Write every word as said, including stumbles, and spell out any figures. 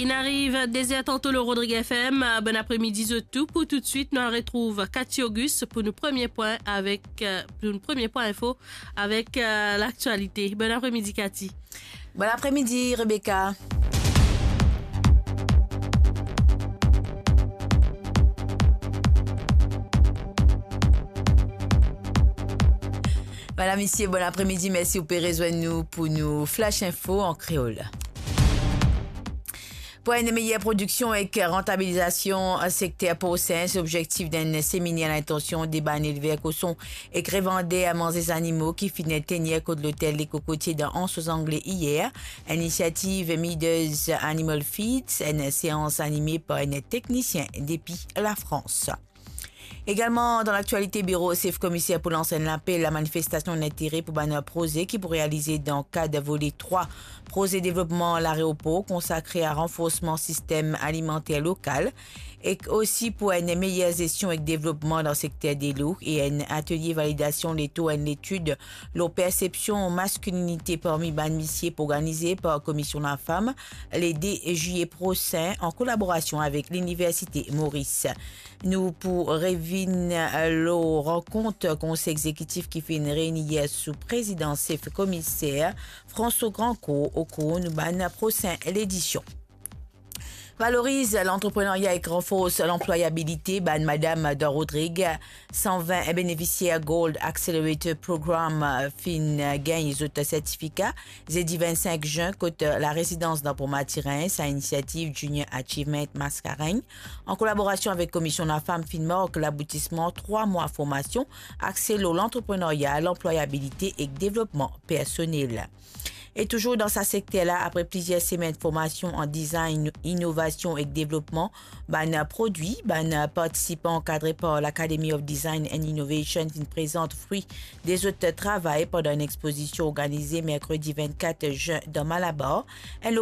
Inn ariv de zer tanto lor Rodrig F M. Bon apremidi zot tou. Pou toutswit, nou al retrouv Cathy Auguste pou nou premie pwin avek, euh, pou nou premie pwin info avek, euh, laktialite. Bon apremidi, Cathy. Bon apremidi, Rebecca. Madam, misie, bon apremidi. Mersi ou pe rezwenn nou pou nou Flash Info an kreol. Pou enn meyer prodiksion ek rantabilizasion sekter porsin, se lobzektif enn seminer a lintansion de bann elver koson ek revander manze zanimo ki finn tenir kot lotel Le Cocotier dan Anse aux Anglais iyer. Inisiativ Midas Animal Feeds, enn seans anime par enn teknisien depi Lafrans. Egalman, dan laktialite, Biro Sef Komiser pou lans enn lapel a manifestasion lintere pou bann proze ki pou realize dan kad vole trwa proze devlopman laeropor konsakre a ranforsman sistem alimanter lokal, ek osi pou enn meyer zestion ek devlopman dan sekter delo, e enn atelie validasion letour enn letid lor persepsion maskilinite parmi bann misie pou organize par Komision Lafam le de zilye prosin an kolaborasion avek Liniversite Moris. Nou pou revinn, eh, lor rankont Konsey Egzekitif ki finn reyni yer sou prezidans Sef Komiser François Grandcourt okour nou bann prosin ledision. Valoriz lantreprenarya ek ranfors lanplwayabilite bann madam dan Rodrig. San vin benefisier Gold Accelerator Program finn gagn zot sertifika zedi vinn sink zin kot larezidans dan Pont Mathurin. Sa inisiativ Junior Achievement Mascarenhas, an kolaborasion avek Komision Lafam, finn mark laboutisman trwa mwa formasion axe lor lantreprenarya, lanplwayabilite ek devlopman personel. E touzour dan sa sekter la, apre plizier semenn formasion an design, inovasion ek devlopman bann prodwi, bann partisipan ankadre par l'Academy of Design and Innovation finn prezant fri de zot travay pandan enn expozision organize merkredi vinn kat zin dan Malabar, enn